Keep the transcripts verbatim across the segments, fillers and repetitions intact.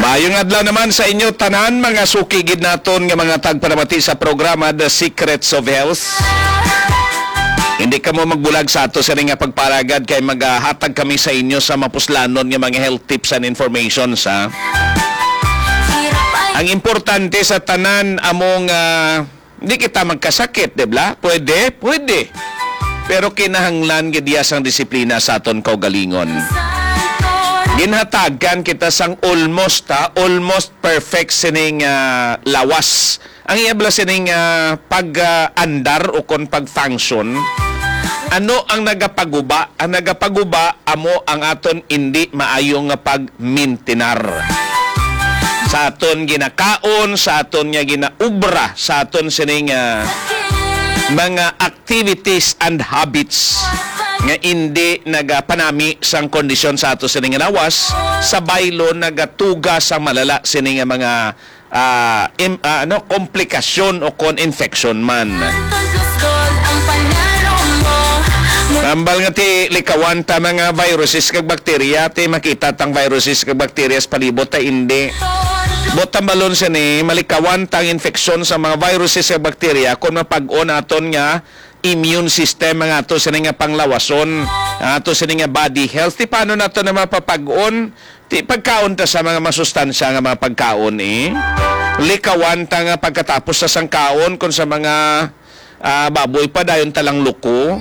Ayong adlaw naman sa inyo tanan, mga suki gid naton nga mga tagpalamati sa programa The Secrets of Health. Hindi kamo magbulag sa ato sini nga pagpalagad, kay magahatag kami sa inyo sa mapuslanon nga mga health tips and information sa. Ang importante sa tanan among, ah, hindi kita magkasakit, di ba? Pwede, pwede. Pero kinahanglan gid iya sang disiplina sa aton kaugalingon. Ginhatagan kita sang almost, ha, almost perfect sining, ah, lawas. Ang iya bala sining, ah, pag, ah, andar o kon pag-function, ano ang nagapaguba? Ang nagapaguba amo ang aton indi maayo nga pagmintinar sa aton ginakaon, sa aton nga ginaubra, sa aton sining, ah, mga activities and habits nga indi nagapanami sang kondisyon sa ato sining lawas, sa baylo nagatuga sa malala sining mga, ah, im-, ah, ano, komplikasyon o kon infection man. Tambal nga ti likawan ta mga viruses kag bakterya, ti makita tang viruses kag bakterya sa palibot ta indi. Buot tambalon sini, malikawan tang infeksyon sa mga viruses kag bakterya kon mapag-on aton nga immune system ang ato sini nga panglawason, ang ato sini nga body health. Ti paano nato na mapapag-on? Ti pagkaon ta sa mga masustansya nga mga pagkaon, eh. Likawan ta nga pagkatapos sa sangkaon kung sa mga, ah, baboy pa dayon ta lang luko.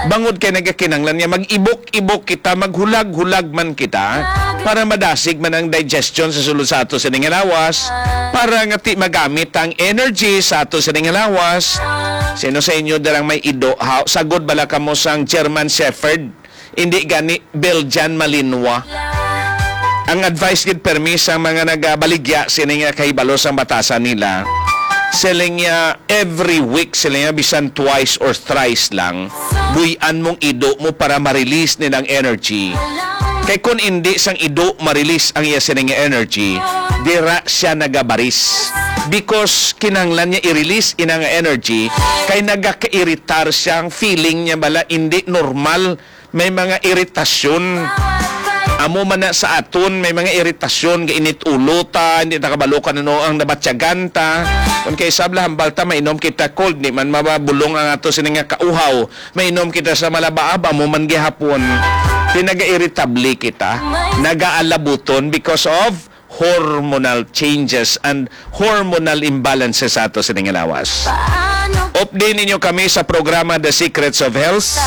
Bangod kay nagakinanglan nga mag-ibok-ibok kita, maghulag-hulag man kita para madasig man ang digestion sa sulod sa ato sining lawas, para nga ti magamit ang energy sa ato sining lawas. Sino sa inyo darang may ido? Ha, sagod bala kamo sang German Shepherd? Hindi gani Belgian Malinois. Ang advice gid permi sa mga nagabaligya sini nga kahibalo sang batasan nila, siling niya every week, siling niya bisan twice or thrice lang, buy-an mong ido mo para ma-release nilang energy. Kay kun indi sang ido ma-release ang iya sining nga energy, dira siya nagabaris. Because kinahanglan niya i-release ina nga energy, kay nagakairitar siyang feeling niya bala, indi normal. May mga iritasyon. Amo man na sa aton, may mga iritasyon, gainit ulo ta, hindi ta kabalo kung ano ang nabatyagan ta. Kung kay sabla, hambal ta, mainom kita cold, di man mababulong ang ato sini nga kauhaw. Mainom kita sa malabaab, amo man gihapon. Di naga-irritable kita, nagaalabuton because of hormonal changes and hormonal imbalances sa ato sining lawas. Update ninyo kami sa programa The Secrets of Health.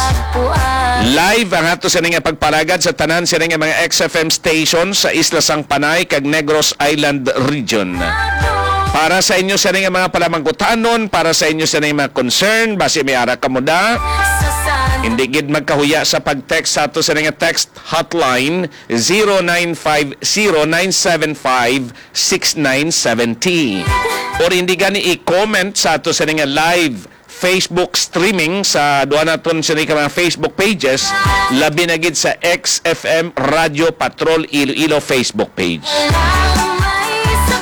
Live ang ato sining pagpalagad sa tanan sining mga X F M stations sa Isla sang Panay kag Negros Island Region. Para sa inyo sining mga palamangkutanon, para sa inyo sining mga concern, basi may ara kamo da. Hindi gid magkahuya sa pag-text sa ato sining text hotline zero nine five zero nine seven five six nine seven zero. Or hindi gani i-comment sa ato sa nga live Facebook streaming sa duha naton sa mga Facebook pages, labi na gid sa X F M Radio Patrol Iloilo Facebook page.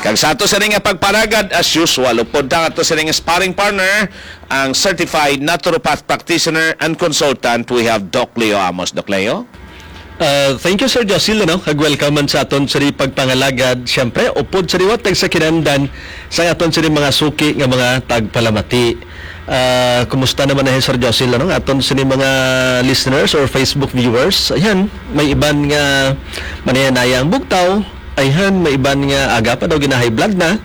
Kag sa ato sa nga pagparagad, as usual, upod ta ato sa nga sparring partner, ang certified naturopath practitioner and consultant, we have Doc Leo Amos. Doc Leo? Ah, thank you, Sir Josil, ano? Kag welcome man sa aton sini pagpangalagad. Siyempre, upod sa liwat kag sa kinahanglan sa aton sini mga suki nga mga tagpalamati. Ah, kumusta naman na, Sir Josil, ano? Aton sini mga listeners or Facebook viewers. Ayan, may iban nga manaya-naya ang bugtaw. Ayan, may iban nga aga pa daw gina-high blood na.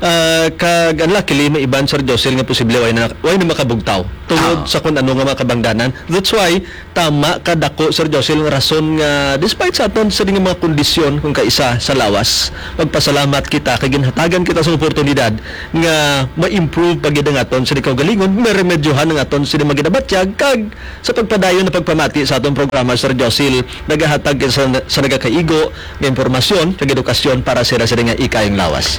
Ah, kag unluckily, may iban, Sir Josil, nga posible way na, way na makabugtaw tungod Ah. sa kung ano nga mga kabangdanan. That's why, tama ka dako, Sir Josil, nga rason nga despite sa aton sa mga kondisyon kung kaisa sa lawas, magpasalamat kita kay ginhatagan kita sa oportunidad nga ma-improve pa gid ang aton sa kaugalingon, meremedyohan ang aton sa mga ginabatyag, kag sa pagpadayon na pagpamati sa aton programa, Sir Josil, nagahatag kita sa, sa nagakaigo nga impormasyon kag edukasyon para sa ila sa nga ikayong lawas.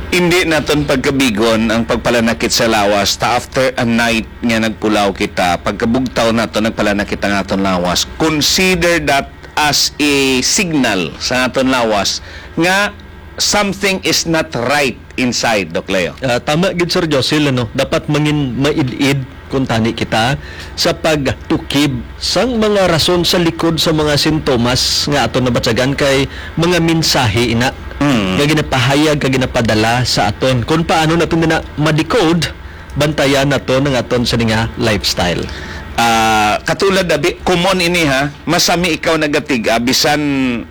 Hindi naton pagkabigon ang pagpalanakit sa lawas ta after a night nga nagpulaw kita, pagkabugtaw nato nagpalanakit ang aton lawas. Consider that as a signal sa aton lawas nga something is not right inside, Doc Leo. Ah, tama gid, Sir Josil, ano? Dapat mangin maid-id Kuntani kita sa pagtukib sang mga rason sa likod sa mga sintomas nga aton nabatyagan, kay mga mensahe ina Mm. nga ginapahayag kag ginapadala sa aton. Kung paano naton na ma-decode, bantayan naton ang aton sini nga lifestyle. Ah, katulad na bi-, common ini, ha, masami ikaw nagatig-ab, bisan,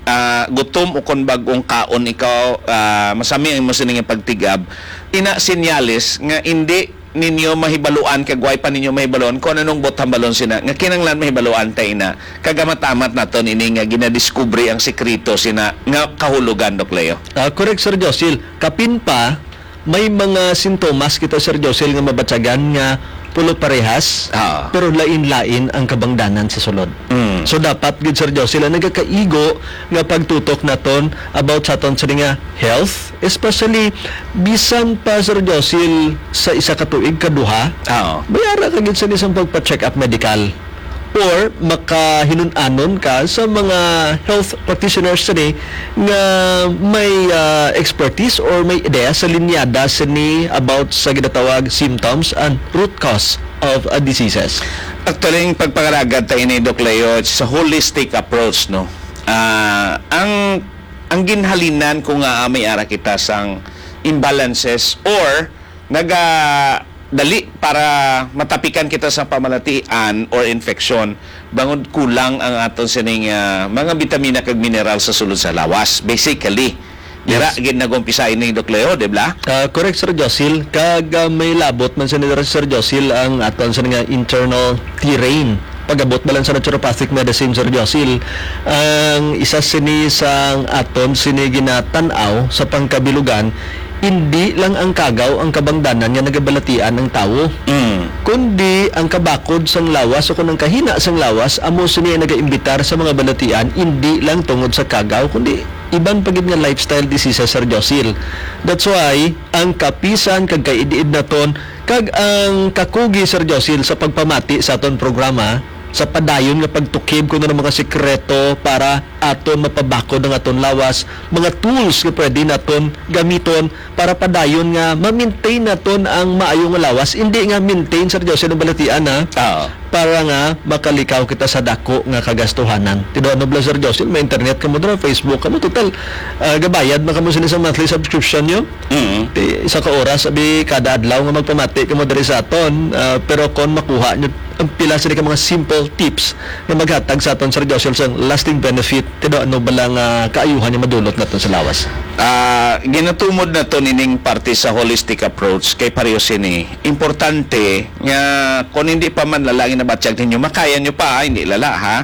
ah, gutom o kon bag-ong kaon ikaw, ah, masami ang imo sini nga pagtig-ab. Ina senyales nga indi ninyo mahibaluan kag way pa ninyo mahibaluan kung anong butang balon sina nga kinahanglan mahibaluan ta ina, kag amat-amat naton ini nga ginadiskubre ang sikreto sina nga kahulogan, Doc Leo. Ah, correct, Sir Josil. Kapin pa, may mga sintomas kita, Sir Josil, nga mabatyagan nga pulo parehas, Ah. pero lain-lain ang kabangdanan sa sulod. Mm. So, dapat gid, Sir Josil, ang nagakaigo nga pagtutok naton about sa aton sini nga health, especially bisan pa, Sir Josil, sa isa ka tuig, kaduha, Oo. may ara ka gid sa isang pagpa-check up medical or makahinun-anon ka sa mga health practitioners sini nga may, ah, expertise or may ideya sa linyada sini about sa ginatawag symptoms and root cause of, ah, diseases. Actually, ang pagpangalagad ta ini, Doc Leo, it's a holistic approach, no? Ah, ang, ang ginhalinan ko nga, ah, may ara kita sang imbalances or naga dali para matapikan kita sa pamalatian or infection, bangod kulang ang aton sining, ah, mga bitamina kag mineral sa sulod sa lawas. Basically, dira Yes. gid nag-umpisa ini, Doc Leo, di ba? Ah, correct, Sir Josil. Kag, ah, may labot man sini, Sir Josil, ang aton sini nga internal terrain. Pag-abot ba lang sa naturopathic medicine, Sir Josil, ang isa sini sang aton sini ginatan-aw sa pangkabilugan, indi lang ang kagaw ang kabangdanan nga nagabalatian ang tawo, Mm. kundi ang kabakod sang lawas o kung ang kahina sang lawas amo sini ang nagaimbitar sa mga balatian, indi lang tungod sa kagaw, kundi iban pa gid nga lifestyle diseases, Sir Josil. That's why ang kapisan kag kaid-id naton kag ang kakugi, Sir Josil, sa pagpamati sa aton programa, sa padayon nga pagtukib kuno ng mga sikreto para aton mapabakod ang aton lawas, mga tools nga pwede naton gamiton para padayon nga ma-maintain naton ang maayo nga lawas. Hindi nga maintain, Sir Josil, ang balatian, ha? Oo. Para nga makalikaw kita sa dako nga kagastuhanan. Tinuod, no, Sir Josil, may internet kamo dira, Facebook kamo, total, ah, gabayad man kamo sini sa monthly subscription nyo. Mm. Ti, isa ka oras, abi, kada adlaw nga magpamati kamo diri sa aton. Ah, pero kon makuha nyo ang pila sini ka mga simple tips nga maghatag sa aton, Sir Josil, sang lasting benefit, tinuod, no, bala nga kaayuhan nga madulot naton sa lawas? Ah, ginatumod naton ining parte sa holistic approach kay pareho sini. Importante nga kung hindi pa man lala ang ginabatyag ninyo, makaya nyo pa, hindi lala, ha?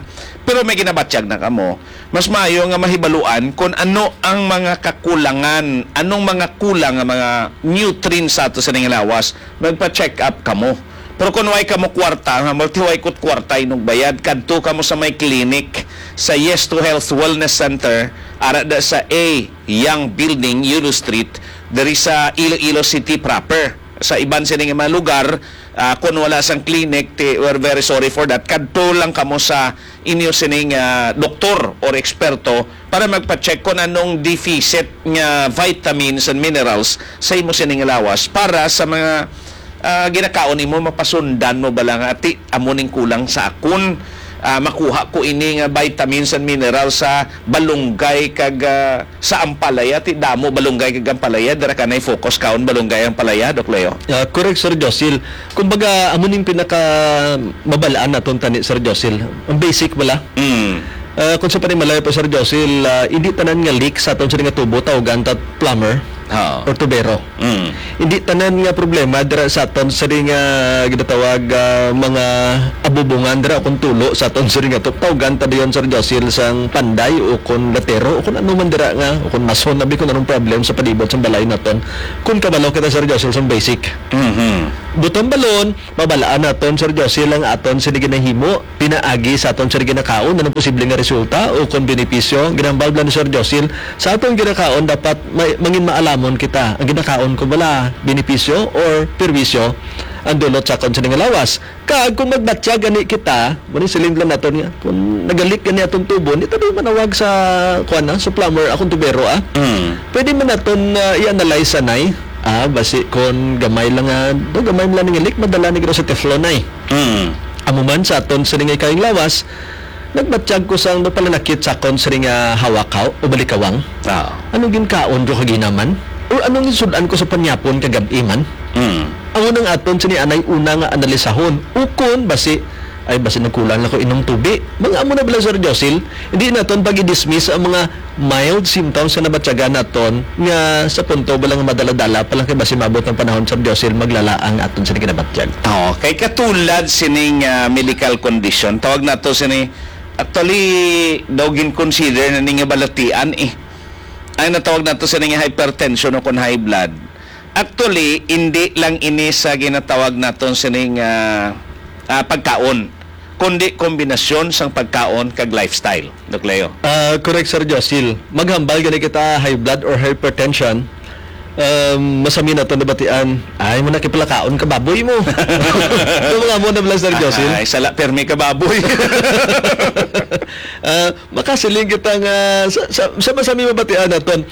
Pero may ginabatyag na kamo. Mas maayo nga mahibaluan kung ano ang mga kakulangan, anong mga kulang nga mga nutrients sa ato sa ning lawas, magpa-check up kamo. Pero kung way kamo kwarta, nga multi way kut kwarta inugbayad, kadto kamo sa may clinic sa Yes to Health Wellness Center, ara da sa A Young Building, Yulo Street, diri sa Iloilo City proper. Sa iban sining mga lugar, ah, kung wala sang clinic, ti, we're very sorry for that. Kadto lang kamo sa inyo sining, ah, doktor or eksperto para magpa-check kung anong deficit nga vitamins and minerals sa imo sining lawas para sa mga, ah, ginakaon nimo, mapasundan mo bala nga, "Ti, amo ning kulang sa akon. Ah, makuha ko ini nga vitamins and minerals sa balunggay kag, ah, sa ampalaya, ti damo balunggay kag ampalaya, dira ka nay focus kaon balunggay, ampalaya, Doc Leo." Ah, correct, Sir Josil. Kumbaga, amo ning pinaka mabalaan naton tani, Sir Josil. Ang basic bala. Mm. Ah, kung sa panimalay pa, Sir Josil, ah, hindi tanan nga leak sa aton sini nga tubo, tawgan ta plumber Oo. or tubero. Mm. Hindi tanan nga problema dira sa aton sini nga ginatawag, ah, mga abubungan dira kung tulo sa aton sini nga tubo. Tawgan ta dayon, Sir Josil, sang panday o kung latero o kung ano man dira nga, o kung mason, abi, kung anong problem sa palibot sang balay naton. Kung kabalo kita, Sir Josil, sang basic. Mhm. Butang balon, mabalaan naton, Sir Josil, ang aton sini ginahimo pinaagi sa aton sini ginakaon, anong posible nga resulta o kon benepisyo. Ginhambal lang ni Sir Josil, sa aton ginakaon dapat may, mangin maalamon kita. Ang ginakaon ko bala benepisyo or perwisyo ang dulot sa aton sini nga lawas. Kag kung magbatyag gani kita, mao ni siling lang naton nga, kung nagalik gani aton tubo, di ta di manawag sa, kuwan na, sa plumber, akong tubero, ah. Mm. Pwede man naton, ah, i-analyze anay. Ah, basi kon gamay lang nga, do gamay lang nga leak, madala ni gid sa Teflon ay. Mm. Amo man sa aton sini nga ikayong lawas, nagbatyag ko sang do palanakit sa akon sini nga hawakaw o balikawang. Ah. Anong ginkaon ko kaginaman? O anong ginsud-an ko sa panyapon kagab-i man? Mm. Amo nang aton sini anay una nga analisahon. Ukon basi, ay, basi nagkulang lang ko inom tubi. Mga amo na bala, Sir Josil, hindi naton pag-i-dismiss ang mga mild symptoms nga nabatyagan naton nga sa punto bala nga madala-dala pa lang kay basi maabot ang panahon, Sir Josil, maglala ang aton sini kinabatyag. Oo, kay katulad sining, ah, medical condition, tawag nato sini, actually, daw gin-consider na ni nga balatian, eh. Ang natawag nato sini nga hypertension o kon high blood. Actually, hindi lang ini sa ginatawag naton sining, ah, ah, pagkaon, kundi kombinasyon sang pagkaon kag lifestyle, Doc Leo. Ah, correct, Sir Josil. Maghambal gani kita high blood or hypertension, um, masami naton nabatian, ay mo nakipalakaon ka baboy mo. Ito mga mo na bala, Sir Josil. Ay, sala permi ka baboy. Ah, makasiling kita nga sa, sa, sa masami mabatian naton,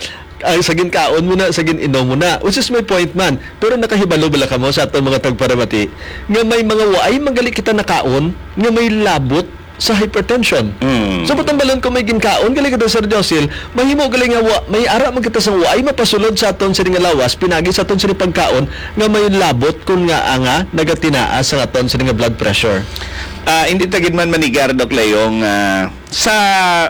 ay, sa ginkaon mo na, sa gin-inom mo na. Which is my point man. Pero nakahibalo bala kamo sa aton mga tagparamati nga may mga waay magali kita nakaon nga may labot sa hypertension. Mm. So, patumbalon ko may ginkaon gali kita, Sir Josil, mahimo gali nga wa, may ara man kita sang waay mapasulod sa aton sini nga lawas, pinagi sa aton sini pagkaon nga may labot kun nga nga nagatinaas sa aton sini nga blood pressure. Ah, hindi ta gid man manigar, Doc Leo, nga sa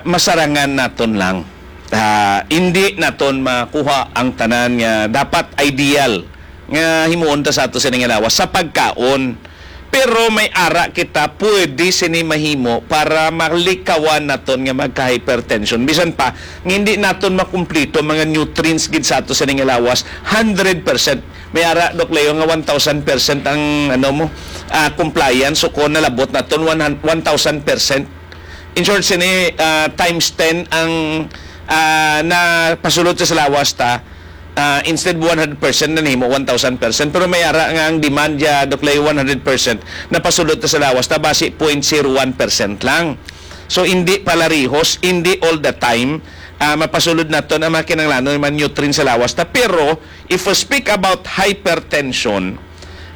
masarangan naton lang. Ah, hindi naton makuha ang tanan nga dapat ideal nga himuon ta sa ato sini nga lawas sa pagkaon. Pero may ara kita pwede sini mahimo para malikawan naton nga magka-hypertension. Bisan pa nga hindi naton makumplito mga nutrients gid sa ato sini nga lawas hundred percent. May ara, Doc Leo, nga one thousand percent ang, ano mo, ah, compliance. So kung nalabot naton one, one thousand percent, in short, sini, ah, times ten ang, ah, napasulod sa lawas ta. Ah, instead one hundred percent na nimo, one thousand percent. Pero may ara nga ang demand ya, Doc Leo, one hundred percent, napasulod ta sa lawas ta, basi point zero one percent lang. So, hindi palarihos, hindi all the time, ah, mapasulod naton ang mga kinahanglanon, mga nutrients sa lawas ta. Pero, if we speak about hypertension,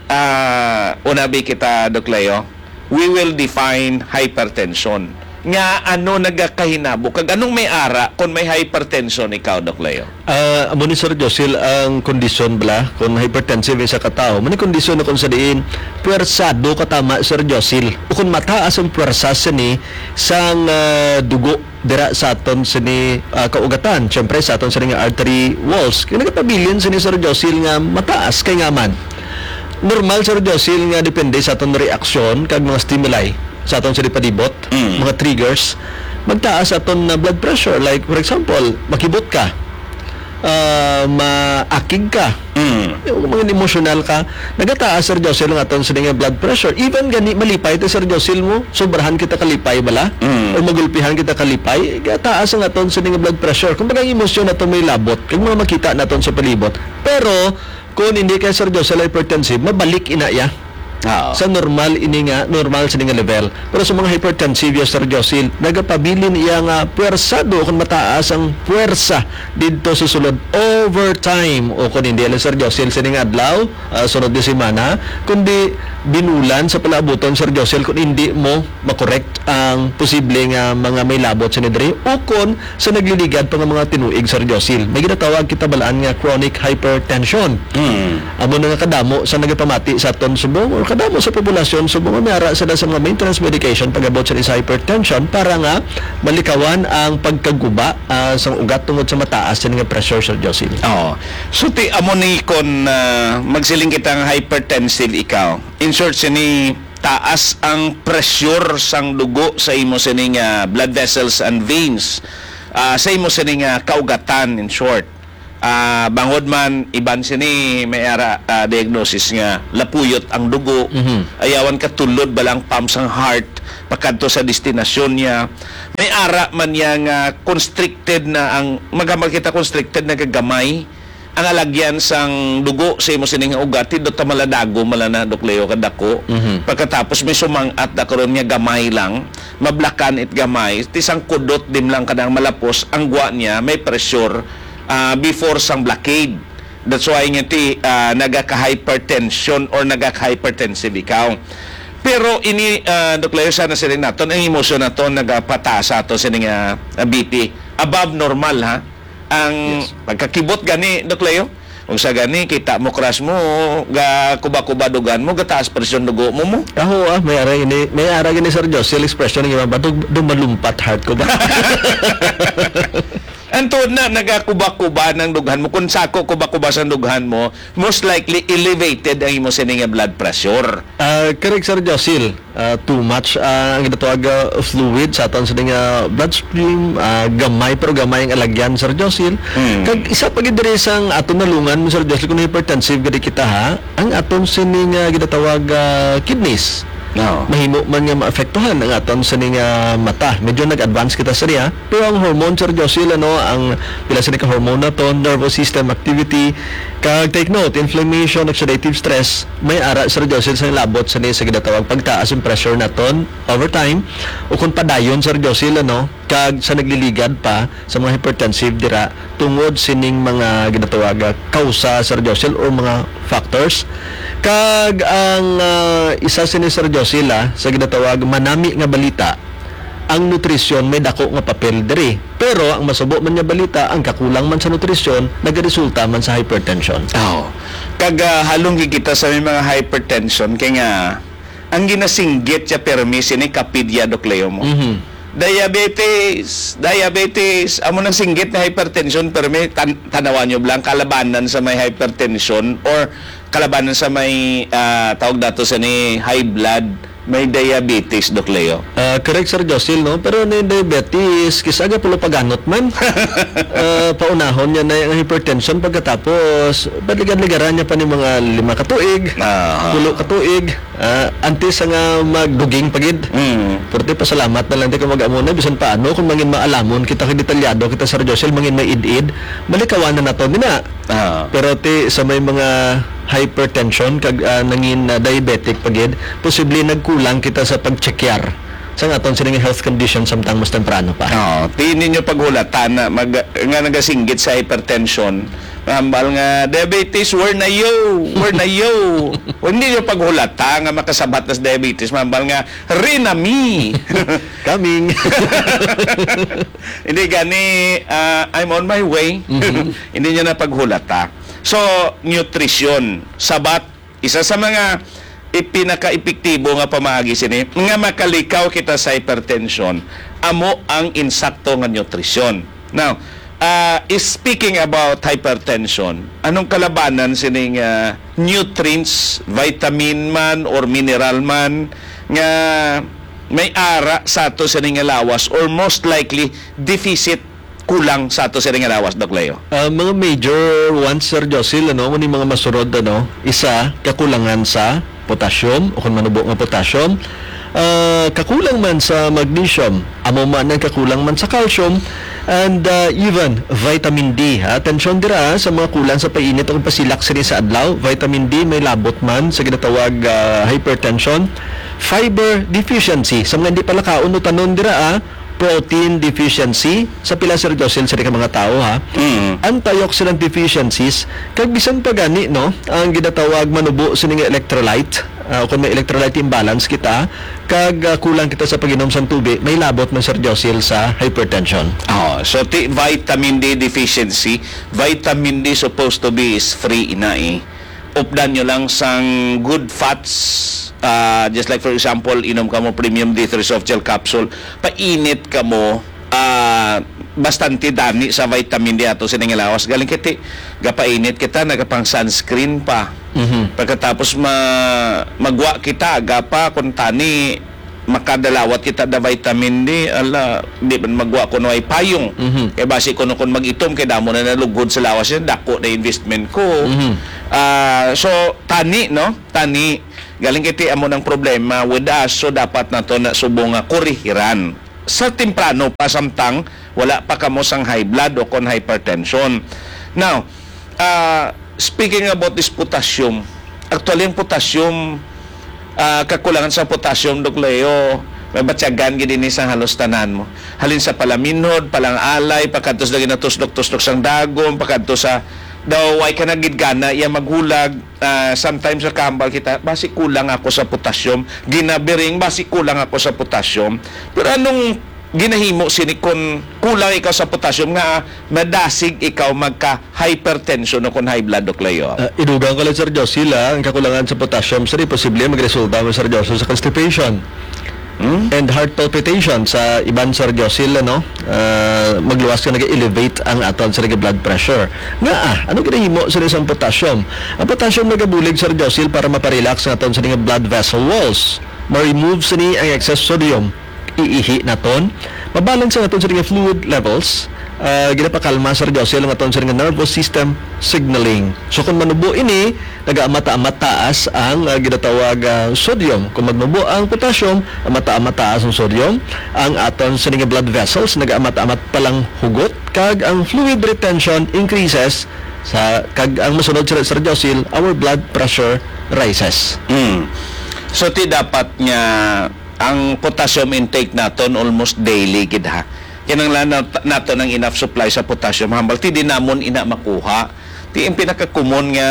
ah, unabi kita, Doc Leo, we will define hypertension. Nga ano nagakahinabo? Kag anong may ara kung may hypertension ikaw, Doc Leo? Ah, amo ni, Sir Josil, ang kondisyon bala, kung hypertensive isa ka tawo, may kondisyon na kung sa diin, puwersado ka tama, Sir Josil, o kung mataas ang puwersa sini sang, ah, dugo dira sa aton sini, ah, kaugatan, siyempre sa aton sini nga artery walls. Kaya nagapabilin sini, Sir Josil, nga mataas kay nga man. Normal, Sir Josil, nga depende sa aton reaksyon kag mga stimuli sa aton sini palibot, Mm. mga triggers, magtaas aton na blood pressure. Like, for example, makibot ka, ah, maakig ka, Mm. yung mga emotional ka, nagataas, Sir Josil, ang aton sini nga blood pressure. Even gani malipay ta, Sir Josil, mo, sobrahan kita kalipay bala, Mm. o magulpihan kita kalipay, gataas ang aton sini nga blood pressure. Kumbaga, ang emosyon nato may labot, kag mga makita naton sa palibot. Pero, kung hindi kay, Sir Josil, hypertensive, mabalik ina iya Oo. sa normal ini nga, normal sini nga level. Pero sa mga hypertensive, yes, Sir Josil, nagapabilin iya nga puwersado kung mataas ang puwersa didto sa sulod over time. O kung hindi lang, Sir Josil, sining adlaw, ah, sunod nga semana, kundi binulan sa palaabuton, Sir Josil, kung hindi mo makorek ang posible nga mga may labot sini diri, o kon sa nagliligad pa nga mga tinuig, Sir Josil. May ginatawag kita balaan nga chronic hypertension. Mm. Amo na nga kadamo sa nagapamati sa aton subong or kadamo sa populasyon subong nga may ara sila sa mga maintenance medication pag-abot sa isa hypertension para nga malikawan ang pagkaguba, ah, sang ugat tungod sa mataas sini nga pressure, Sir Josil. Oo. So, ti, amo ni kon, ah, magsiling kita nga hypertensive ikaw. In short, sini taas ang pressure sang dugo sa imo sining, ah, blood vessels and veins, ah, sa imo sining, ah, kaugatan, in short. Ah, bangod man, iban sini may ara, ah, diagnosis nga lapuyot ang dugo, Mhm. ayawan katulod bala ang pump sang heart pakadto sa destinasyon niya. May ara man niya nga constricted na ang, maghamag kita constricted na gagamay, ang alagyan sang dugo sa imo sining ugat, hindot ta maladago, mala na, Doc Leo, kadako. Mhm. Pagkatapos may sumang-at na karon nga gamay lang, mablakan it gamay, ti sang kudot dim lang kanang malapos, ang gwa niya may pressure, ah, before sang blockade. That's why nga ti, ah, nagaka-hypertension or nagaka-hypertensive ikaw. Pero ini, ah, Doc Leo, sana siling naton, ang emosyon naton nagapataas sa aton sining, ah, B P. Above normal, ha? Ang Yes. pagkakibot gani, Doc Leo, kung sa gani, kita mo, crush mo, ga kuba-kuba dugan mo, gataas presyon dugo mo mo. Ako, ah, may ara gini, may ara gini, Sir Josie, expression ng iba ba? Dum-, dumalumpat heart ko ba? Ang tuod na, nagakuba-kuba ng dughan mo. Kung sako kuba-kuba sa dughan mo, most likely elevated ang imo sini nga blood pressure. Ah, correct, Sir Josil. Ah, too much, ah, ang ginatawag, ah, fluid sa aton sini nga bloodstream, ah, gamay pero gamay ang alagyan, Sir Josil. Mm. Kag isa pa gid diri sang aton nalungan mo, Sir Josil, kung hypertensive gid kita, ha, ang aton sini nga ginatawag, ah, kidneys. No. Mahimo man nga maapektuhan ang aton sini nga mata. Medyo nag-advance kita sa niya. Pero ang hormone, Sir Josil, ano, ang pila sini ka hormone naton, nervous system activity, kag take note, inflammation, oxidative stress, may ara, Sir Josil, sa labot sini sa ginatawag pagtaas ang pressure naton over time, o kung padayon, Sir Josil, ano, kag sa nagliligad pa sa mga hypertensive dira tungod sining mga ginatawag kausa, Sir Josil, or mga factors. Kag ang, ah, isa sini, Sir Josil, ah, sa ginatawag manami nga balita, ang nutrisyon may dako nga papel diri. Pero ang masubo man nga balita, ang kakulang man sa nutrisyon nagaresulta man sa hypertension. Oh. Kag, ah, halong gid kita sa may mga hypertension kay nga ang ginasinggit siya permi sini kapidya, Doc Leo, mo. Mhm. Diabetes, diabetes, amo nang singgit na hypertension, permi tan-, tanawan nyo lang, kalabanan sa may hypertension or kalabanan sa may, ah, tawag dato sa ni high blood, may diabetes, Doc Leo. Ah, correct, Sir Josil, no? Pero ni diabetes, kis-a gapulo paganot man. Ah, paunahon niya na yung hypertension pagkatapos, paligan-ligaran niya pa ni mga lima ka tuig, Ah. pulo ka tuig. Ah, antes sa nga magduging pa gid. Mm. Pero ti, pasalamat na lang ti kung mag-amo na, bisan paano, kung mangin maalamon kita kay detalyado kita, Sir Joshel, mangin may id-id, malikawan na nato din na. Ah. Pero ti, sa may mga hypertension, kag, ah, nangin, ah, diabetic pa gid, posible nagkulang kita sa pag-checkyar sa aton sining health condition samtang mas temprano pa. Oo. Ti ninyo paghulatan na mag-, nga nagasinggit sa hypertension, hambal nga, "Diabetes, where na you? Where na you?" O, hindi nyo paghulata nga makasabat na sa diabetes, hambal nga, "Rinami." Coming. Hindi gani, ah, "I'm on my way." Mhm. Hindi nyo na paghulata. So, nutrition, sabat, isa sa mga ipinaka-epektibo nga pamaagi sini nga makalikaw kita sa hypertension, amo ang insakto nga nutrisyon. Now, ah, is speaking about hypertension, anong kalabanan sini nga nutrients, vitamin man or mineral man nga may ara sa ato sini nga lawas or most likely deficit, kulang sa ato sini nga lawas, Doc Leo? Ah, mga major ones, Sir Josil, ano, mao ni mga masunod, ano, isa, kakulangan sa potassium, o kung manubo nga potassium, ah, kakulang man sa magnesium, amo man ang kakulang man sa calcium, and, ah, even vitamin D. Ha? Atensyon dira sa mga kulang sa painit o pasilak sini sa adlaw. Vitamin D may labot man sa ginatawag, ah, hypertension. Fiber deficiency. Sa mga hindi pala kaon o tanon dira, ah, protein deficiency sa pila, Sir Jocelyn, sa ka mga tawo, ha? Mm. Antioxidant deficiencies, kag bisan pa gani, no, ang ginatawag manubo sini nga electrolyte, ah, kung may electrolyte imbalance kita, kag, ah, kulang kita sa pag-inom sang tubig, may labot man, Sir Jocelyn, sa hypertension. Oh, so ti vitamin D deficiency, vitamin D supposed to be is free ina eh. Updan nyo lang sang good fats. Ah, just like, for example, inom ka mo premium D three soft gel capsule, painit ka mo, ah, bastante dani sa vitamin D ato sining lawas. Galing kiti, gapainit kita, nagapang sunscreen pa. Mhm. Pagkatapos ma-, magwa kita, gapa kung tani, makadalawat kita da vitamin D, ala, di man magwa kuno ay payong. Mhm. Kay basi kuno kun mag-itom, kay damo na nalughod sa lawas niya, dako na investment ko. Mhm. Ah, so, tani, no? Tani, galing kay ti amo nang problema with us, so dapat nato na subong nga korihiran. Sa temprano pa samtang wala pa kamo sang high blood o kon hypertension. Now, ah, speaking about this potassium, actually, ang potassium, ah, kakulangan sa potassium, Doc Leo, may batyagan gid ini sa halos tanan mo. Halin sa palaminhod, palang-alay, pakadto sa ginatusdok-tusdok sang dagom, pakadto sa daw way ka na gid gana iya maghulag. Ah, sometimes nakahambal kita, "Basi kulang ako sa potassium." Ginabiring, "Basi kulang ako sa potassium." Pero anong ginahimo sini kon kulang ikaw sa potassium nga madasig ikaw magka-hypertension o kon high blood, Doc Leo? Ah, idugang ko lang, Sir Josil, ah, ang kakulangan sa potassium, sir, posible magresulta mo, Sir Josil, sa constipation. Hmm? And heart palpitation sa iban, Sir Josil, ano? Ah, magluwas ka, nag-elevate ang aton sa blood pressure. Nga, ah, ano ginahimo sa isang potassium? Ang potassium nagabulig, Sir Josil, para maparelax ang aton sa blood vessel walls. Ma-remove sini ang excess sodium. Iihi naton. Mabalance ang aton sa fluid levels. Ah, ginapakalma, Sir Josil, ang aton sa nervous system signaling. So, kung manubo ini, nagaamata-amat taas ang, ah, ginatawag, ah, sodium. Kung magnubo ang potassium, amata-amat taas ang sodium. Ang aton sa blood vessels, nagaamata-amat palang hugot, kag ang fluid retention increases sa, kag ang masunod, Sir, Sir Josil, our blood pressure rises. Mm. So, ti dapat nga ang potassium intake naton almost daily gid, ha. Kinahanglan nat-, naton ang enough supply sa potassium. Hambal, ti di namon ina makuha. Ti ang pinakakomon nga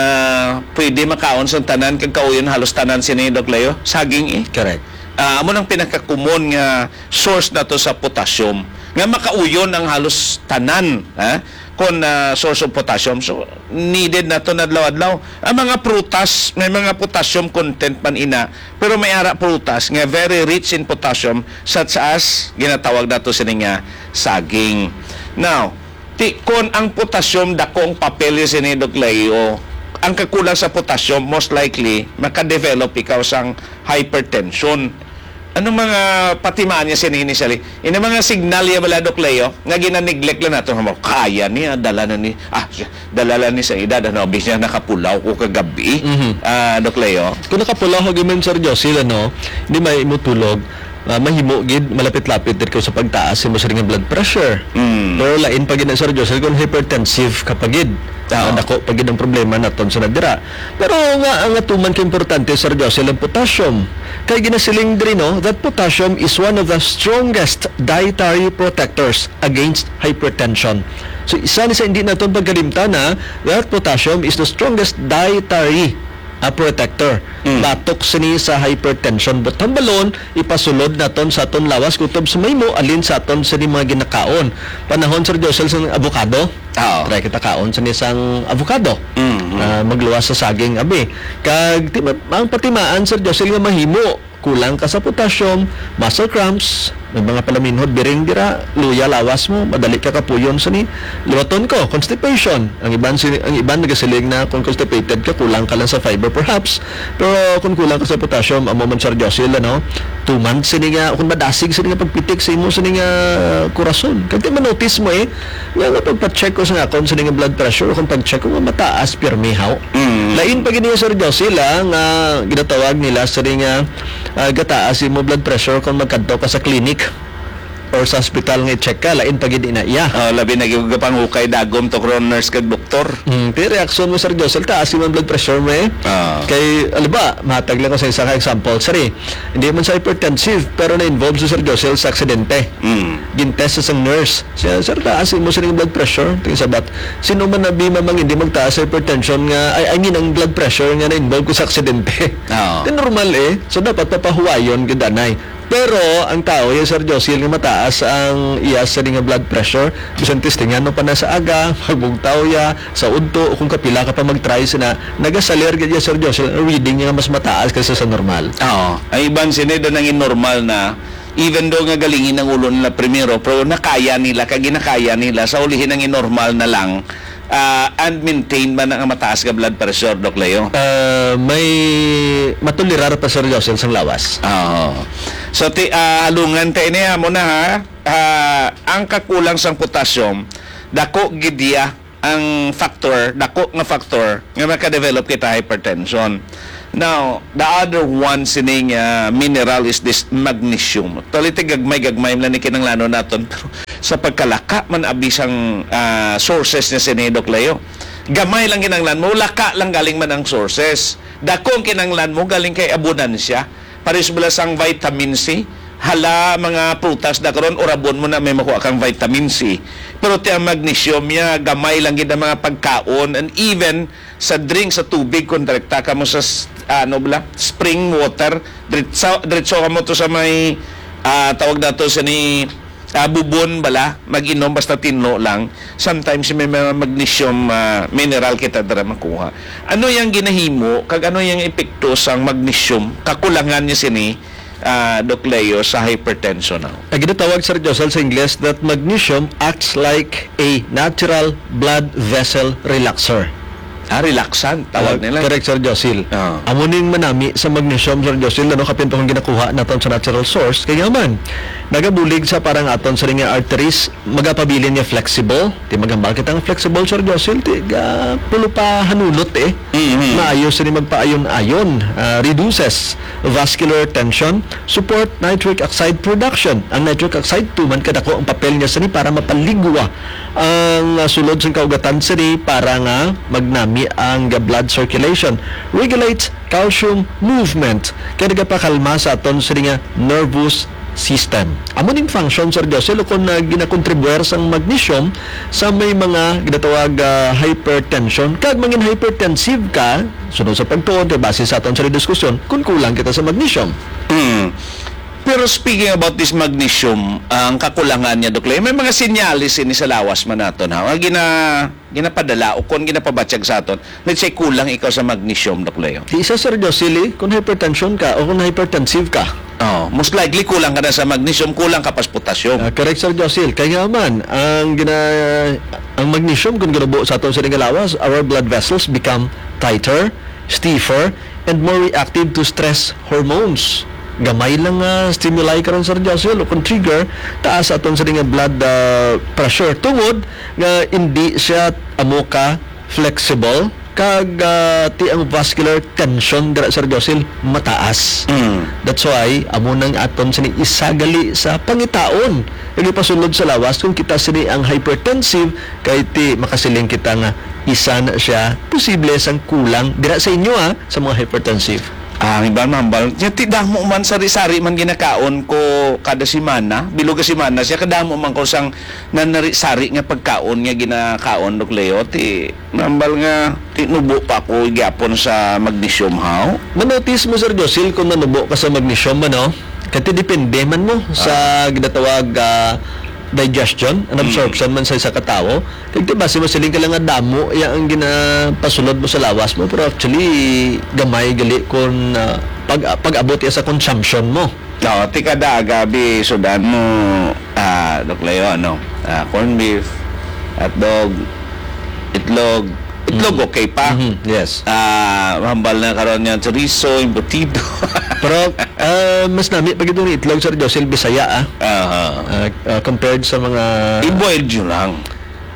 pwede makaon sa tanan kag kauyon halos tanan sini, Doc Leo, saging, eh. Correct. Ah, amo nang pinakakomon nga source nato sa potassium nga makauyon ang halos tanan, ha? Kon, ah, source of potassium. So, needed nato adlaw-adlaw. Ang mga prutas, may mga potassium content man ina, pero may ara prutas nga very rich in potassium, such as ginatawag nato sini nga saging. Now, ti, kon ang potassium dako ang papel sini, Doc Leo, ang kakulang sa potassium, most likely, makadevelop ikaw sang hypertension. Ano mga patimaan niya sini initially? Ini mga signal ya bala, Doc Leo, nga gina-neglect lang nato. Mo, kaya niya, dala na ni, ah, dala lang ni sa edad, ano, bis niya nakapulaw ko kagabi. Mhm. Ah, Doc Leo? Kung nakapulaw ka gimin, Sir Josil, ano, di may imutulog, ah, mahimo gid, malapit-lapit din ko sa pagtaas mo sa ring blood pressure. Mm. Pero lain pa gid na, Sir Josil, kung hypertensive ka pa gid. Oo. Ah, dako pa gid ang problema naton sa nadira. Pero nga, ang atuman ka importante, Sir Josil, ang potassium. Kay ginasiling diri, no, that potassium is one of the strongest dietary protectors against hypertension. So, isa ni sa hindi naton pagkalimtan na that potassium is the strongest dietary, ah, protector. Mm. Batok sini sa hypertension. But hambalon, ipasulod naton sa aton lawas kutob sa mahimo alin sa aton sini mga ginakaon. Panahon, Sir Josil, sa avocado. Oo. Try kita kaon sa isang avocado. Mm, mm. Ah, magluwas sa saging, abi. Kag ti-, ang patimaan, Sir Josil, nga mahimo, kulang ka sa potassium, muscle cramps, may mga palaminhod, biring dira, luya lawas mo, madali ka kapuyon sa ni. Liwaton ko, constipation. Ang iban sini, ang iban nagasiling na kung constipated ka, kulang ka lang sa fiber perhaps. Pero kung kulang ka sa potassium, amo man, Sir Josil, ano, two months sini nga, kung madasig sini nga pagpitik sa imo sini nga kurason. Kag ti manotice mo, eh, nga, nga pagpa-check ko sa akon sini nga blood pressure, kung pag-check ko nga mataas, pirmi haw. Mm. Lain pa gid niya, Sir Josil, ah, nga ginatawag nila sini nga, ah, gataas imo blood pressure kung magkadto ka sa clinic or sa hospital nga i-check ka, lain pa gid ina iya. Oh, labi na gyud ka pang hukay dagom to, kron nurse kag doktor. Hmm, pero reaksyon mo, Sir Josil, taas yung blood pressure mo, eh. Ah. Kay, alam ba, matag lang ko sa isa ka example. Sir, eh, hindi man sa hypertensive, pero na-involve si Sir Josil sa aksidente. Mm. Gintest sa isang nurse. Siya, "Sir, taas mo sa inyong blood pressure." Tingin sa bat, sino man na bima mang hindi magtaas sa hypertension nga, ay, I mean, ang blood pressure nga na-involve ko sa aksidente? Oo. Di normal, eh. So, dapat papahuwayon gid anay. Pero ang tao, ya, Sir Josil, nga mataas ang iya sa nga blood pressure, bisan testingan mo pa na sa aga, magbugtaw ya, sa udto, o kung kapila ka pa mag-try sina, nagasalir gid ya, Sir Josil, ang reading niya nga mas mataas kaysa sa normal. Oo. Ang iban sini do nangin normal na, even though nga galingin ang ulo nila primero, pero nakaya nila, kag ginakaya nila, sa ulihi nangin normal na lang, ah, and maintain man ang mataas nga blood pressure, Doc Leo? Ah, may matolerar pa, Sir Josil, sang lawas. Oo. So, ti-, ah, alungan ta ini, amo na, ha. Ah, ang kakulang sang potassium, dako gid iya ang factor, dako nga factor nga makadevelop kita hypertension. Now, the other one sining, ah, mineral is this magnesium. Actually, ti gagmay-gagmay lang ni kinahanglanon naton, pero sa pagkalaka man abi sang, ah, sources niya sini, Doc Leo. Gamay lang kinahanglan mo, laka lang galing man ang sources. Dako ang kinahanglan mo galing kay abundansya. Pares bala sang vitamin C, hala, mga prutas na karon, urabon mo na may makuha kang vitamin C. Pero ti ang magnesium niya, gamay lang gid ang mga pagkaon, and even sa drink, sa tubig, kung direkta ka mo sa s-, ano bala, spring water, diretso, diretso ka mo to sa may, ah, tawag nato sa ni, ah, bubon bala, mag-inom basta tinlo lang. Sometimes may mga magnesium, ah, mineral kita dira makuha. Ano yang ginahimo, kag ano yang epekto sang magnesium, kakulangan niya sini, ah, Doc Leo, sa hypertension now? Ang ginatawag, Sir Josel, sa Ingles, that magnesium acts like a natural blood vessel relaxer. Ah, relaxant, tawag Ah, nila. Correct, Sir Josil. Ah. Amo ning manami sa magnesium, Sir Josil, ano, kapin pa kung ginakuha naton sa natural source. Kaya man, nagabulig sa parang aton sa nga arteries, magapabilin niya flexible. Ti maghambal kita nga flexible, Sir Josil, ti ga pulo pa hanunot eh. Mhm. Maayo sini magpaayon-ayon, ah, reduces vascular tension, support nitric oxide production. Ang nitric oxide, tuman kadako ang papel niya sini para mapaligwa ang, ah, sulod sang kaugatan sini para nga magnami ang blood circulation. Regulates calcium movement. Kaya nagapakalma sa aton sini nga nervous system. Amo ning function, Sir Josel, kung, ah, ginakontribuer sang magnesium sa may mga ginatawag, ah, hypertension. Kag mangin hypertensive ka, sunod sa pagtuon, kay base sa aton sa diskusyon, kung kulang kita sa magnesium. Mm. Pero speaking about this magnesium, ang kakulangan niya, Doc Leo, may mga senyales ini sa lawas man naton, ha? Nga gina-, ginapadala o kon ginapabatyag sa aton. Let's say, kulang ikaw sa magnesium, Doc Leo. Di isa, Sir Josili, kung hypertension ka o kung hypertensive ka. Oh, most likely, kulang ka na sa magnesium, kulang ka pa sa potassium. Ah, correct, Sir Josil. Kaya nga man, ang gina-, ang magnesium, kung ginubo sa aton sa nga lawas, our blood vessels become tighter, stiffer, and more reactive to stress hormones. Gamay lang nga stimuli karon, Sir Joshua, o kung trigger, taas aton sa nga blood, ah, pressure. Tungod nga hindi siya amo ka flexible, kag, ah, ti ang vascular tension dira, Sir Josil, mataas. Mm. That's why, amo nang aton sini isa gali sa pangitaon nga gipasulod sa lawas kung kita sini ang hypertensive, kay ti makasiling kita nga isa na siya posible sang kulang dira sa inyo, ah, sa mga hypertensive. Ah, ang iban mahambal, nya ti damo man sari-sari man ginakaon ko kada semana, bilog ka semana siya, kadamo man ko sang nanari-sari nga pagkaon nga ginakaon, Doc Leo, ti mahambal nga ti nubo pa ako gyapon sa magnesium, haw? Manotis mo, Sir Josil, kung nanubo ka sa magnesium, ano? Kay ti depende man mo sa Ah. ginatawag, ah, digestion, an Mm. absorption man sa isa ka tawo. Kag ti basi masiling ka lang nga damo iya ang ginapasulod mo sa lawas mo, pero actually gamay gali kon, ah, pag, pag-abot iya sa consumption mo. Oo, ti kada aga abi sudan mo, ah, Doc Leo, ano, ah, corned beef, hotdog, itlog. Itlog, Mm. okay pa. Mhm, yes. Ah, mahambal na karon nga chorizo, embutido. Pero, ah, mas nami pa gid ang itlog, Sir Josel, Bisaya, ah. Aha. Ah, ah, compared sa mga I-boil nyo lang.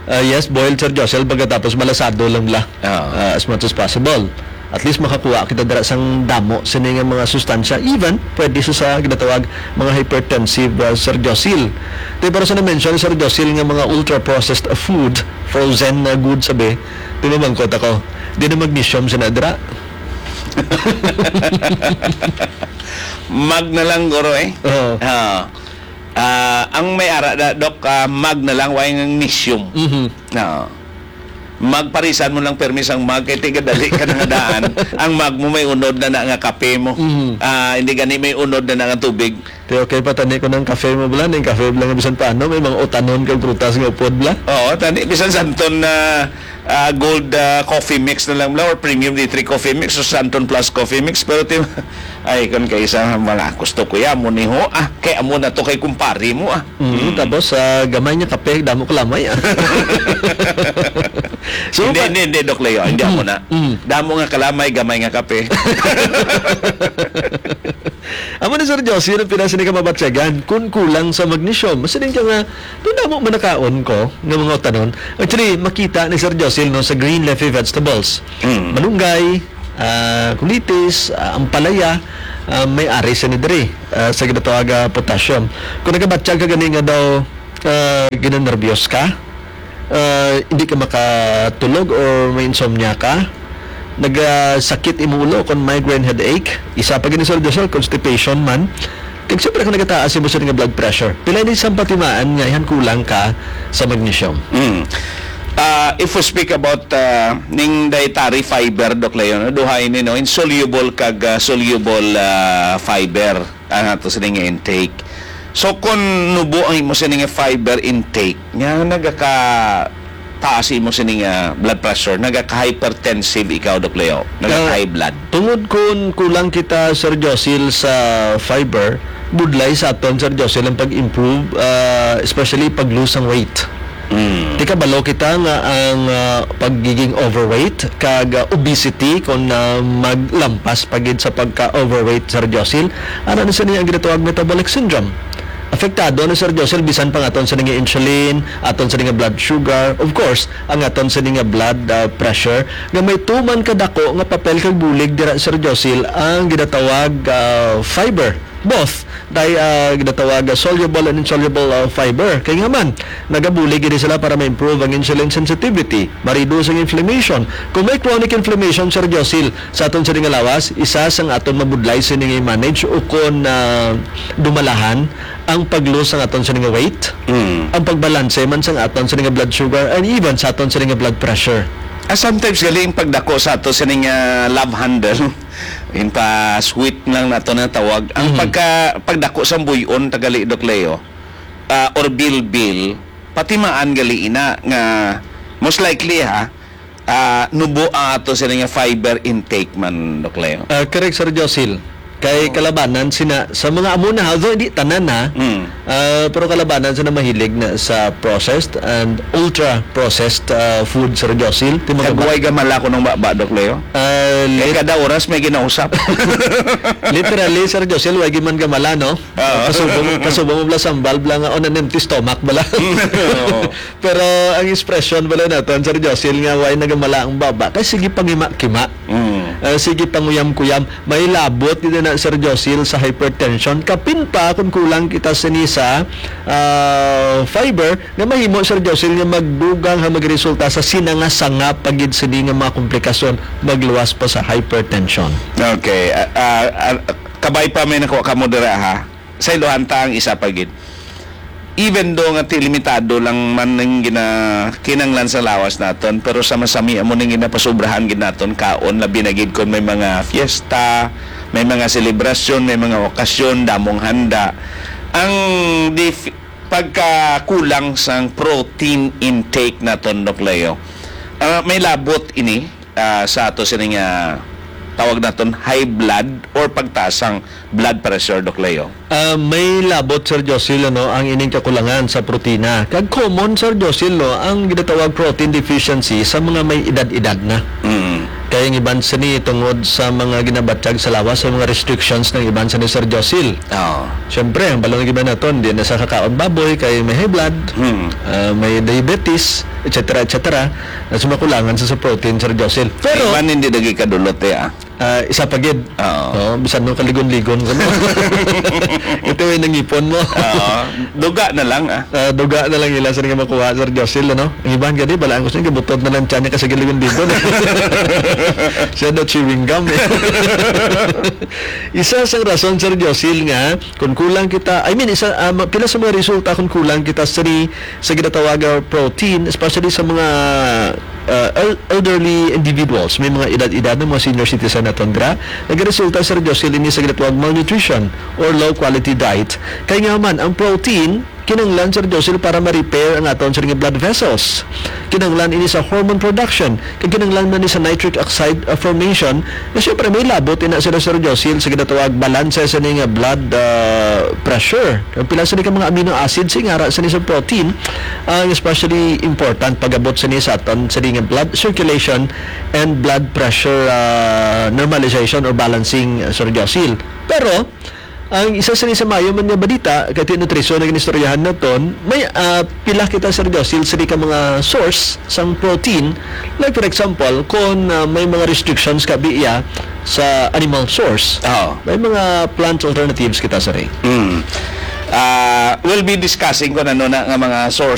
Ah, yes, boiled, Sir Josel, pagkatapos malasado lang la. Ah. Ah, as much as possible. At least makakuha kita dira sang damo sini nga mga sustansya. Even pwede sa, sa ginatawag mga hypertensive, ah, Sir Josil. Te, pero sa na-mention ni Sir Josil nga mga ultra-processed food, frozen na good sabi, di ba, mangkot ako, di na magnesium sa nadra. Mag na lang, guro, eh. Oo. Ah. Ah, ang may ara na, Doc, ah, mag na lang, way nga magnesium. Mhm. Oo. Magparisan mo lang permi sang mag, kay tigadali ka na nga daan. Ang mag mo may unod na na nga kape mo. Mhm. Ah, hindi gani may unod na na nga tubig. Te, okay pa tani ko ng kape mo, bala, ning kape, bala, nga bisan paano, may mga utanon kag prutas nga upod, bala. Oo, tani, bisan santon na, ah, gold, ah, coffee mix na lang, bala, or premium D three coffee mix, o santon plus coffee mix, pero ti-, ay, kon kay isa, wala, gusto ko ya, mo ni ho, ah, kay amo na to kay kumpare mo, ah. Mm, Mm. tapos, ah, gamay niya kape, damo kalamay, ah. So, Hindi, pa- hindi, hindi, Doc Leo, hindi ako Mm, na. mm. Damo nga kalamay, gamay nga kape. Amo ni Sir Josie, ang pinasini ka mabatyagan, kung kulang sa magnesium. Masiling ka nga, "Doon damo man nakaon ko, nga mga utanon." Actually, makita ni Sir Josie, no, sa green leafy vegetables. Mm. Malunggay, ah, kulitis, ah, ampalaya, ah, may ari sa ni diri, ah, sa ginatawag, ah, potassium. Kung nagabatyag ka gani nga daw, ah, ginanerbyos ka, ah, hindi ka makatulog or may insomnia ka, nagasakit imong ulo kon migraine headache, isa pa gani, Sir Josel, constipation man, Kag siyempre, kung nagataas imo sini nga blood pressure, pila ni sang patimaan nga ihan kulang ka sa magnesium? Mm. Ah, if we speak about, ah, ning dietary fiber, Doc Leo, no? Duha ini, no? Insoluble kag, ah, soluble, ah, fiber ang ato sini nga intake. So, kung nubo ang imo sini nga fiber intake, nga nagaka taas imo sini nga blood pressure, nagaka-hypertensive ikaw, Doc Leo, nagaka-high blood. Tungod kun kulang kita, Sir Josil, sa fiber, budlay sa aton, Sir Josil, ang pag-improve, ah, especially pag-lose ang weight. Mm. Di kabalo kita nga ang, ah, pagiging overweight kag, ah, obesity, kung, ah, maglampas pa gid sa pagka-overweight, Sir Josil, ano na sini ang ginatawag metabolic syndrome. Apektado na, Sir Josil, bisan pa nga aton sini nga insulin, aton sini nga blood sugar, of course, ang aton sini nga blood, ah, pressure, nga may tuman kadako nga papel kag bulig dira, Sir Josil, ang ginatawag, ah, fiber. Both, tay, ah, ginatawag, ah, soluble and insoluble, ah, fiber. Kay nga man, nagabulig ini sila para ma-improve ang insulin sensitivity, ma-reduce ang inflammation. Kung may chronic inflammation, Sir Josil, sa aton sini nga lawas, isa sang aton mabudlay sini nga i-manage ukon, ah, dumalahan ang pag-lose sang aton sini nga weight, Mm. ang pagbalanse man sang aton sini nga blood sugar, and even sa aton sini nga blood pressure. Ah, sometimes gali ang pagdako sa ato sini nga love handle. In pa sweet lang nato na tawag. Ang Mhm. pagka pagdako sa buyon tagali, Doc Leo, ah, or bilbil, patimaan gali ina nga most likely, ha, ah, nubo ang ato sini nga fiber intake man, Doc Leo. Ah, correct, Sir Josil. Kay Oo. kalabanan sina sa mga amo na, although hindi tanan na, Mm. ah, pero kalabanan sina mahilig na sa processed and ultra-processed, ah, food, Sir Josil. Ti mga Kag ba- way gamala ko nung baba, Doc Leo. Ah, Kay lit- kada oras may ginausap. Literally, Sir Josil, way man gamala, no? Oo. Kasubong, kasubong mo bala sambal, bala nga on an empty stomach, bala. Oo. Pero ang expression bala naton, Sir Josil, nga way nagamala ang baba, kay sige pangima-kima. Mm. Ah, sige panguyam-kuyam. May labot gid na, Sir Josil, sa hypertension. Kapin pa kung kulang kita sini sa, ah, fiber, nga mahimo, Sir Josil, nga magdugang ha magresulta sa sinanga-sanga pa gid sini nga mga komplikasyon, magluwas pa sa hypertension. Okay. Ah, ah, ah, kabay pa may nakuha kamo dira, ha? Sa iluhan ta ang isa pa gid. Even though nga ti limitado lang man ning gina-, kinanglan sa lawas naton, pero sa masami amo ning ginapasubrahan gid naton kaon, labi na gid kon may mga fiesta, may mga selebrasyon, may mga okasyon, damong handa. Ang dif-, pagkakulang sang protein intake naton, Doc Leo, ah, may labot ini, ah, sa ato sini nga tawag naton high blood or pagtaas sang blood pressure, Doc Leo? Ah, may labot, Sir Josil, ano, ang ining kakulangan sa protina. Kag common, Sir Josil, no, ang ginatawag protein deficiency sa mga may edad-edad na. Mm. Kay ang iban sini tungod sa mga ginabatyag sa lawas, sa mga restrictions ng iban sini, Sir Josil. Oo. Siyempre, ang balon nga iban naton, di na sa kakaon baboy, kay may high blood, Hmm. ah, may diabetes, et cetera, et cetera, na sumakulangan sa, sa protein, Sir Josil. Pero Iban hindi lagi kadulot, eh, ah. Ah, isa pa gid. Oo. Oo, bisan no kaligon-ligon ko, no? Ito yung nangipon mo. Oo. Duga na lang, ah. Ah, duga na lang ila sa nga makuha, Sir Josil, ano? Ang iban gani, balaan ko sa inyo, butod na lang tiyan niya kasi kaligon-ligon. Siya daw chewing gum, eh. Isa sang rason, Sir Josil, nga kung kulang kita, I mean, isa, ah, ma-, pila sa mga resulta kung kulang kita sa ni, sa ginatawag nga protein, especially sa mga, ah, el-, elderly individuals, may mga edad-edad ng mga senior citizen na tundra, nagresulta, Sir Josil, ini sa ginatawag malnutrition or low quality diet. Kay nga man, ang protein, kinahanglan, Sir Josil, para ma-repair ang aton, sir, nga blood vessels. Kinahanglan ini sa hormone production, kag kinahanglan man ni sa nitric oxide, uh, formation, na siyempre may labot ina sila, Sir Josil, sa ginatawag balanse sa ni nga blood, uh, pressure. Ang pila sa ni ka mga amino acids, ingara sa ni sa protein, ang especially important pag-abot sa ni sa aton, sa ni nga blood circulation and blood pressure, uh, normalization or balancing, uh, Sir Josil. Pero, ang isa sa ni sa maayo man nga balita, kay ti nutrisyon ang inistoryahan naton, may, ah, pila kita, Sir Josil, sa di ka mga source sang protein. Like, for example, kung, ah, may mga restrictions ka biya sa animal source, Oo. may mga plant alternatives kita, sir, eh. Mm. Ah, we'll be discussing kung ano na nga mga source